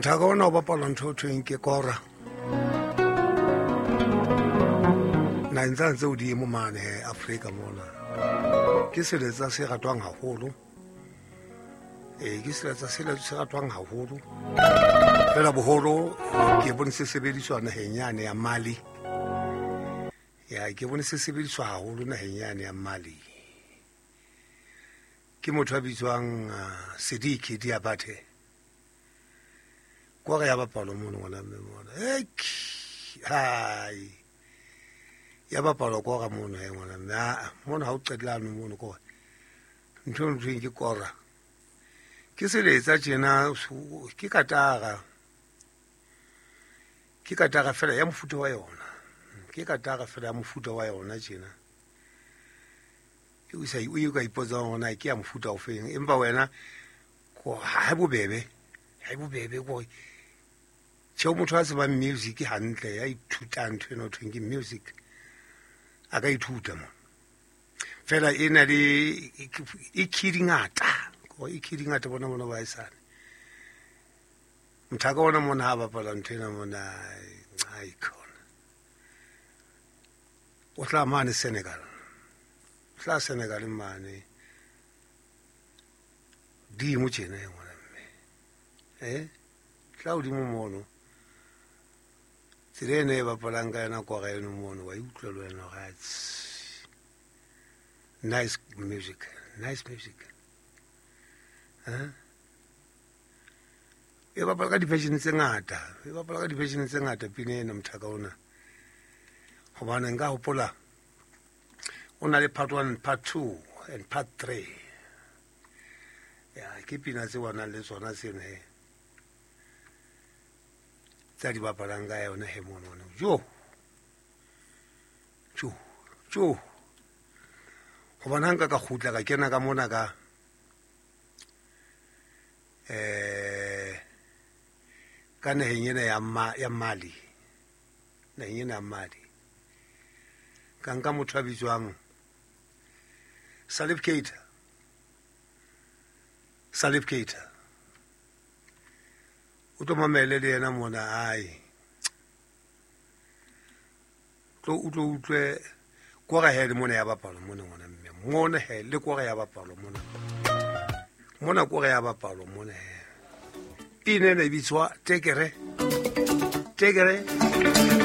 Mothaka ona o bapala ntho o thweng ke kora. Naheng tsane tse hodimo mane Afrika mona. Ke seletsa se ratwang haholo. Ee, ke seletsa se ratwang haholo. Fela boholo ke bone se sebediswa naheng yane ya Mali. Ya ke bone se sebediswa haholo naheng yane ya Mali. Ke motho a bitswang Sidiki Diabate. Kore ya bapalwa mono ngwana mme mona. Hai. Ya bapalwa kora mono he ngwana mme. Aa, mono ha o qetlano mono kore. Ntho e thweng ke kora. Ke seletsa tjena ke katara. Ke katara fela ya mofuta wa yona. Ke katara fela ya mofuta wa yona tjena. O sa o ka ipotsa hore na ke ya mofuta o feng, empa wena ha bobebe, ha bobebe ko tjhe motho a tsebang music hantle ya ithutang ntho ena ho thweng ke music a ka ithuta mo. Fela e na le e key di ngata, e key di ngata bona bona ba esane. Mothaka ona mona ha bapala ntho ena mona ai khona. O tla mane Senegal. O tla Senegal mane. Dimo tjena e ngwana mme. Eh? Tla hodimo mono. Tsela ena e bapalang ka yona kora eno mono wa utlwa le wena hore nice music, nice music. Eh? E bapala ka di-version tse ngata, e bapala ka di-version tse ngata pina ena mothaka ona. Hobane nka hopola o na le part 1, part 2 and part 3. Ya ke pina tse wa nang le tsona tseno he. Tsa di bapalang ka yona he mono. Jo. Jo. Jo. Hobane ha nka ka kgutla ka kena ka mona ka ka naheng ena ya ya Mali. Naheng ena ya Mali. Ka nka motho a bitswang Salif Keita. Salif Keita. O tlo mamele le yena mona ai. Tlo o tlo utlwe kora he le mona ya bapalwa mona ngwana mme. Mona he le kora ya bapalwa mona. Mona kora ya bapalwa mona he. Pina ena e bitswa Tekere. Tekere.